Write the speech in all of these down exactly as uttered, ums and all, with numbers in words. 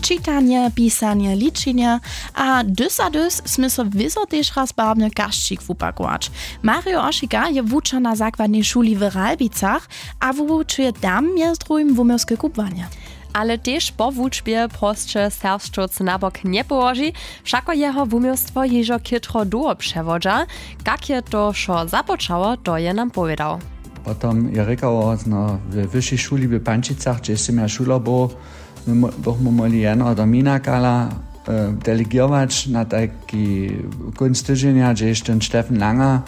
Čitanje, pisanje, ličenje. A dys a dys smy so wězo tež raz barwny kašćik wupakować. Mario Ošika je wučer na zakładnej šuli w Ralbicach a wuwučuje tam mjez druhim wuměłske kubłanje. Ale tež po wučbje prosće serbšćowc na bok njepołoži, wšako jeho wuměłstwo hižo chětro dołho přewodźa. Kak je to wšo započało, to je nam powědał. Potom je rěkało, no, we wyšej šuli w Pančicach, hdźež sym ja šuler był, my mo- bych mu móhli jeno do Minakala, e, delegować na tajki kónc tydźenja, hdźež ten Steffen Langer,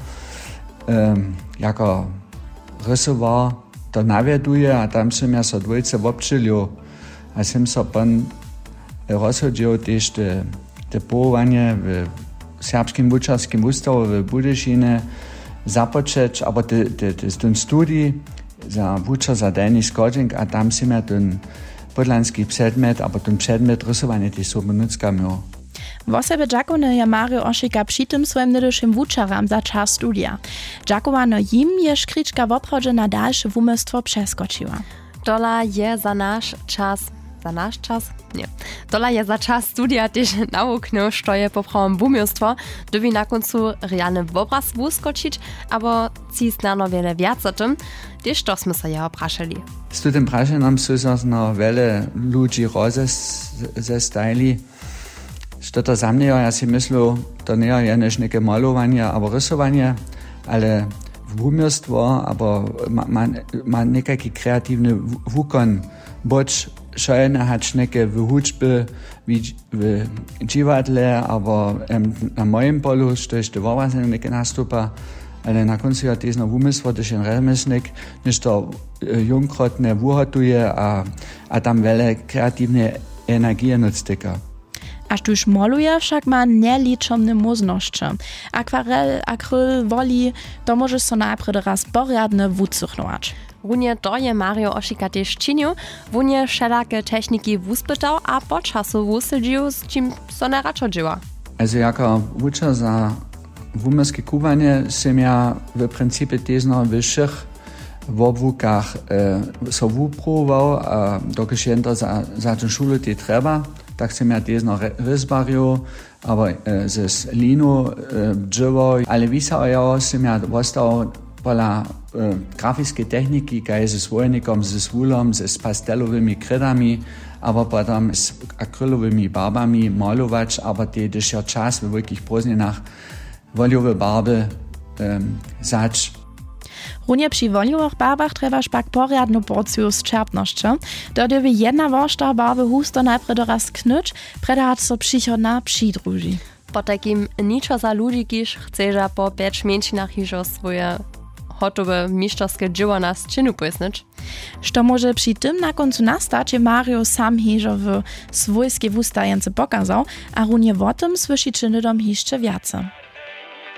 e, jako rysowar to nawjeduje, a tam sym ja so dwójce wobdźělił a sym so pon rozsudźił tež te, te powołanje w Serbskim wučerskim wustawu w Budyšinje započeć, abo te, te, te, ten studij za wučer za Delnji Schodźenk, a tam sym ja ten podlanski předmjet, abo ten předmjet rysowanje tež sobu nutřka měł. Wosebje dźakowny je Mario Ošika při tym swojim njedyšim wučeram za čas studija. Dźakowano jim je škrička woprawdźe na dalše wuměłstwo přeskočiła. Tola je za naš čas, za naš čas? Ně. Tola je za čas studija tež nawuknył, što je poprawom wuměłstwo, dyrbi na kóncu realny wobraz wuskočić, abo tśi snano wjele wjac o tym? Tež to smy so jeho prašeli. Z tutym prašenjom su so zno wjele ludźi rozestajili. Što to za mnje jo, ja sej myslu, to njejo jenož něke malowanje abo rysowanje, ale wuměłstwo abo ma, ma, ma někajki kreatiwny wu- wukon, bądź wšojene hač něke w hudźbje, w, w dźiwadle abo, em, na mojim polu, štož te wobraznje něke nastupa, ale na kóncu jo tež zno wuměłstwo, hdyž jen rjemjesnik něšto, e, jónkrotne wuhotuje a, a tam wjele kreatiwne energije nutř tyka. A štóž moluje, wšak ma njeličomne móžnosće. Akwarel, akryl, woli, to móžeš so najprjedy raz porjadnje wucychnować. Runje to je Mario Ošika tež činił. Wón je wšelake techniki wuspytał a po času wuslědźił, z čim so najradšo dźěła. Also jako wučer za wuměłske kubłanje sym ja w principje tež zno we wšěch wobłukach, e, so wupruwował, a dokelž jendro za, za tu šulu tej trjeba, tak sym ja tež zno rě- rězbarjow, abo, e, z, z linu, e, dźěłał, ale wisajo sym ja wostał pola, e, grafiskej techniki, kaž z wólnikom, z wulom, z, z pastelowymi krědami, abo potom z akrylowymi barbami malować, abo tež jo čas we wulkich prózdninach wolijowe barby, em, wzać. Runje při wolijowych barbach trjebaš pak porjadnu porciju sćerpnosće. To dyrbi jedna woršta barby husto najprjedy raz knyć, prjedy hač so přichodna přidruži. Potajkim ničo za ludźi, kiž chceža po pjeć mjeńšinach hižo swoje hotowe mišterske dźěło na sćěnu pósnyć. Što móže při tym na kóncu nastać, je Mario sam hižo w swójskej wustajence pokazał, a runje wo tym słyšiće hnydom hišće wjace.